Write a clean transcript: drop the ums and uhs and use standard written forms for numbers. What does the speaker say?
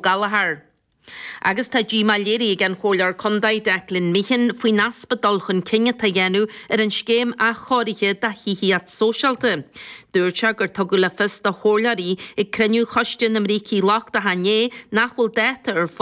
Gallchóir. Agus tá díomá léirithe ag an Chomhairleoir Contae Declan Meehan faoin easpa dul chun cinn atá á dhéanamh ar an scéim athchóirithe do thithíocht sóisialta. Dúirt sé gur tugadh le fios do chomhairleoirí ag cruinniú Choiste na mBrící Lochtacha inné nach bhfuil dáta ar fáil.